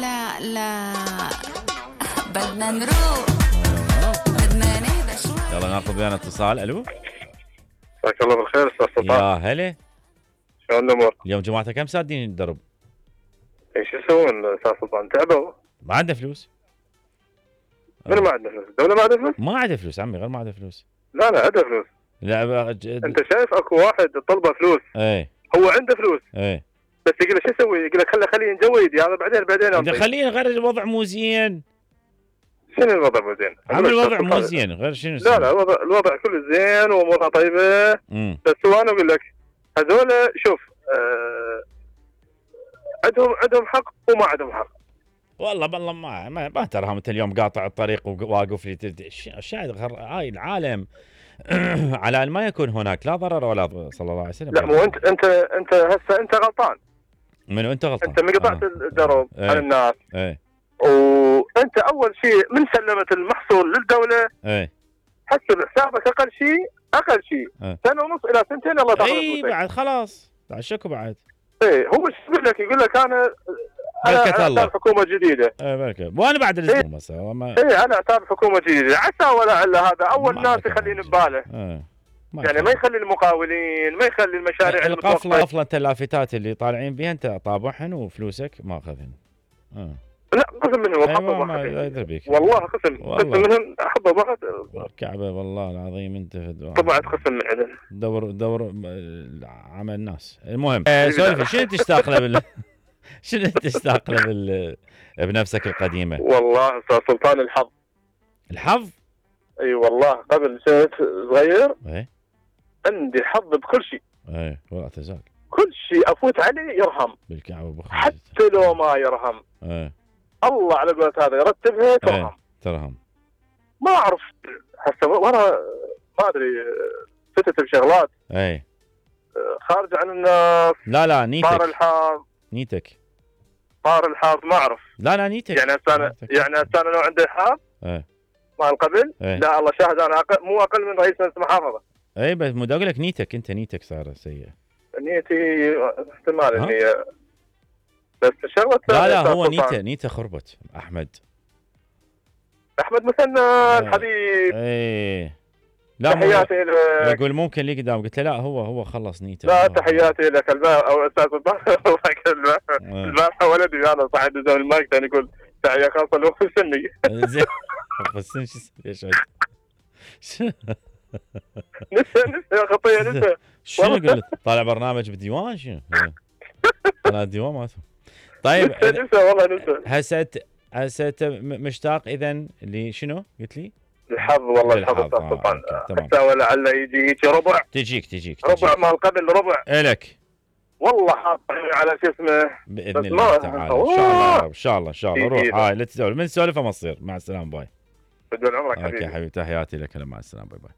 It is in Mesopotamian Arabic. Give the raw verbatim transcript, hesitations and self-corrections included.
لا لا بدنا نروح بدنا نهدى شوي. يلا ناخذ ويانا اتصال. الو مساك الله بالخير استاذ يا سلطان. هلا. شلون الامور؟ اليوم جماعتك كم سادين الدرب؟ ايش يسوون استاذ سلطان؟ تعبوا؟ ما عنده فلوس. من ما عنده فلوس؟ الدولة ما عندها فلوس؟ ما عنده فلوس عمي، غير ما عنده فلوس. لا لا عنده فلوس. لا بقى ج... انت شايف اكو واحد طلبه فلوس، ايه هو عنده فلوس ايه بس يقول له شو اسوي؟ يقول لك خله خليه ينجويد هذا بعدين بعدين انت انطيه. خلينا غير الوضع مو زين. شنو الوضع مو زين؟ عم الوضع مو زين غير شنو؟ لا لا الوضع الوضع كله زين وامورها طيبه. امم بس هو انا اقول لك هذول شوف آه عندهم عندهم حق وما عندهم حق. والله بالله ما ما, ما تراهم انت اليوم قاطع الطريق وواقف لي شاهد هاي العالم على ان ما يكون هناك لا ضرر ولا ضرر صلى الله عليه وسلم. لا مو انت انت انت هسه انت غلطان. منو انت غلطان؟ انت ما قطعت آه. الدرب ايه. على الناس. ايه وانت اول شيء من سلمت المحصول للدوله ايه حسب حسابك اقل شيء اقل شيء ايه. سنه ونص الى سنتين الله تاخذ اي فلوسك. بعد خلاص بعد شكو بعد. ايه هو ايش يقول لك؟ يقول لك انا بركة انا الله. اعتبر حكومه جديده. ايه بركة وانا بعد الاسبوع بس ما ايه انا اعتبر حكومه جديده عسى ولا الا هذا اول ما ناس أعرف يخلين يعني. بباله. ايه يعني ما يخلي المقاولين ما يخلي المشاريع القفله المتوقفة. قفله انت اللافتات اللي طالعين بها انت طابعهن وفلوسك ماخذهن. اه لا قسم منهم أيوة وحظه ما واحد. يدري بيك. والله قسم والله. قسم منهم حظه واحد الكعبه والله العظيم انت طبعت قسم من عندنا. دور دور عمل الناس. المهم آه سولفي شنو تشتاق له بال شنو تشتاق له بال بنفسك القديمه؟ والله استاذ سلطان الحظ. الحظ؟ اي أيوة والله قبل كنت صغير ايه عندي حظ بكل شيء. ايه ولا تزال كل شيء افوت عليه يرهم بالكعبه بخير. حتى لو ما يرهم. ايه الله على قولة هذا يرتبها ترهم. ايه ترهم. ما اعرف هسه وانا ما ادري فتت بشغلات ايه خارج عن الناس. لا لا صار نيتك الحظ نيتك صار الحظ ما اعرف. لا لا نيتك يعني هسه انا نيتك. يعني هسه انا لو عندي حظ ايه مال قبل ايه لا الله شاهد انا أقل مو اقل من رئيس مجلس المحافظه. ايه بس مو اقول لك نيتك انت نيتك صار سيئه. نيتي احتمال ها؟ اني بس شغله لا لا هو نيته نيته خربت احمد. احمد مثنى ايه الحبيب ايه لا مو- تحياتي لك. يقول ممكن لي قدام قلت له لا هو هو خلص نيته. لا هو- تحياتي لك البارحه او استاذ البارحه إيه. البارحه ولدي انا صاحب زمن المايك كان يقول تحيه خاصه لوقت السني. زين بس شو ايش نسى نسى خطيه نسى. شنو قلت طالع برنامج بالديوان شنو؟ طلع الديوان مالته. طيب نسى نسى والله نسى. هسه هسه أنت م- مشتاق اذا لشنو قلت لي؟ الحظ والله الحظ للحظ. استاذ آه، سلطان. أوكي، تمام. حتى ولعل يجي هيك ربع تجيك تجيك ربع تجيك مال قبل ربع الك والله حاط على شو اسمه. باذن بس الله ما- تعالى ان شاء الله يا رب ان شاء الله ان شاء الله إيه، روح إيه. هاي لا تسولف من سولفه ما تصير. مع السلامه باي. بدون عمرك اوكي حبيبي. حبيبي تحياتي لك. مع السلامه باي باي.